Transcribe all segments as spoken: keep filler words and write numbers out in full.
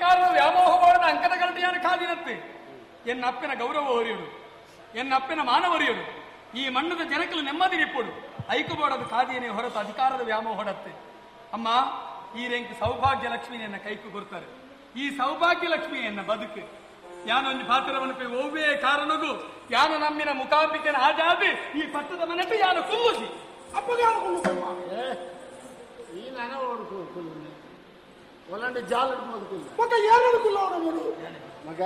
ಅಧಿಕಾರದ ವ್ಯಾಮೋಹ ಮಾಡೋಣ ಅಂಕದ ಗರಟಿಯಾನ ಕಾದಿನತ್ತೆ. ಎನ್ನ ಅಪ್ಪನ ಗೌರವ ಹೊರಿಯುಡು, ಎನ್ನ ಅಪ್ಪನ ಮಾನವರಿಯುಡು, ಈ ಮಣ್ಣದ ಜನಕಲು ನೆಮ್ಮದಿ ನಿಪ್ಪುಡು. ಐಕುಬೋಡದ ಕಾದಿಯನೇ ಹೊರತು ಅಧಿಕಾರದ ವ್ಯಾಮೋಹಡತ್ತೆ. ಅಮ್ಮ, ಈ ರೆಂಕ್ ಸೌಭಾಗ್ಯ ಲಕ್ಷ್ಮಿಯನ್ನ ಕೈಕು ಕೊಡ್ತಾರೆ. ಈ ಸೌಭಾಗ್ಯ ಲಕ್ಷ್ಮಿಯನ್ನ ಬದುಕು ಯಾನೊಂದು ಪಾತ್ರವನ್ನು ಒವ್ವೇ ಕಾರಣಗೂ ಯಾನು ನಮ್ಮಿನ ಮುಖಾಂಬಿಕೆನ ಆಜಾದಿ ಈ ಪಟ್ಟದ ಮನೆಟ್ಟು ಯಾನು ಕುಲ್ಲುಸಿ ಈ ನಾನ ಒಲಾಂಡ ಜಾಲ ಮಗ.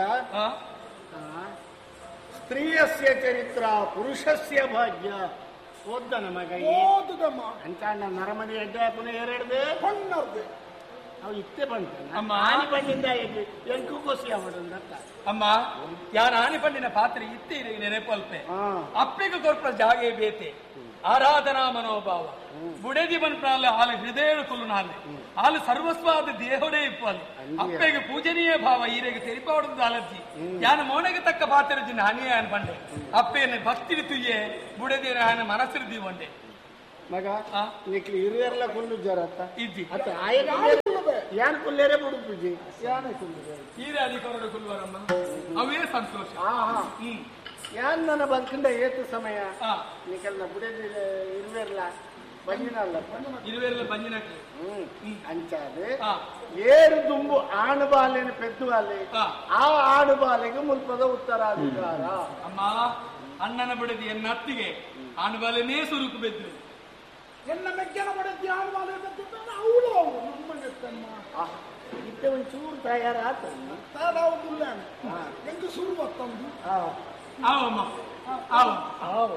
ಸ್ತ್ರೀಯಸ್ಯ ಚರಿತ್ರ ಪುರುಷಸ್ಯ ಭಾಗ್ಯ ಓದ್ದನ ಮಗ ಅಂತ ನರಮನಿ ಅಡ್ಡ ಪುನಃ ಎರಡ್ದೆ ಅವು ಇತ್ತೆ ಬಂತ ಆನಿ ಪಂಡಿಂದ ಎಂಕು ಕೋಸಿ ಅವಡಂದತ್ತ. ಅಮ್ಮ, ಯಾನ ಆನಿ ಪಂಡಿನ ಪಾತ್ರೆ ಇತ್ತೆ ನೆನಪಲ್ಪೆ ಅಪ್ಪಿಗೆ ಕೊರ್ಪ ಜಾಗೆ ಬೇತೆ ಆರಾಧನಾ ಮನೋಭಾವ ಬುಡೆದಿ ಬನ್ಪಾಲ ಹಾಲು ಹೃದಯ ಕುಲ್ಲು ಹಾಲು ಸರ್ವಸ್ವಾದ ದೇಹೋಡೇ ಇಪ್ಪಲು ಅಪ್ಪೆಗೆ ಪೂಜನೀಯ ಭಾವ ಈರೆಗೆ ತೆರಿಪಾವಡದ ಅಲರ್ಜಿ ಯಾನ ಮೋನೆಗೆ ತಕ್ಕ ಪಾತ್ರ ಹಾನಿಯೇ ಅನ್ ಪಂಡೆ ಅಪ್ಪೇನೆ ಭಕ್ತಿ ತುಯ್ಯೆ ಬುಡೆದಿನ ಹಾನ ಮನಸ್ಸಿರು ದೀವಂಡೆ ಮಗ ನಿಕ್ಲಿ ಹಿರಿಯರ್ಲ ಕುಲ್ಲು ಜರತ್ತ ಇದ್ದಿ ಅತ್ತ ಆಯನ ಯಾನ್ ಕುಲ್ಲೇರೆ ಬುಡುಪುಜಿ ಯಾನೆ ಕುಲ್ಲು ಹೀರೆ ಅಧಿಕಾರದ ಕುಲ್ವರಮ್ಮ ಅವೇ ಸಂತೋಷ. ಹ್ಮ್ ಯಾನ್ ನನ್ನ ಬಂಕಂಡ ಏತು ಸಮಯ ನಿಕಲ್ನ ಬುಡೆದಿ ಇರುವೆರ್ಲ ಬಂಜಿನಲ್ಲ ಇರುವೆರ್ಲ ಬಂಜಿನ ಹ್ಮ್ ಅಂಚಾದೆ ಏರು ದುಂಬು ಆಣು ಬಾಲೆನ ಪೆದ್ದು ಬಾಲೆ ಆ ಆಣು ಬಾಲೆಗೆ ಮುಲ್ಪದ ಉತ್ತರಾಧಿಕಾರ. ಅಮ್ಮ, ಅಣ್ಣನ ಬುಡದಿ ಎನ್ನ ಅತ್ತಿಗೆ ಆಣು ಬಾಲೆನೇ ಸುರುಕು ಬೆದ್ರು ಎನ್ನ ಮೆಗ್ಗನ ಬಡದಿ ಆಣು ಬಾಲೆ ಅವಳು ಅವಳು ನಮ್ಮ ಇತ್ತೆ ಒಂಚೂರು ತಯಾರಾತ ತಾವು ಎಂಟು ಸುರು ಬತ್ತಂದು. ಆವಮ್ಮ ಆವ ಆವ.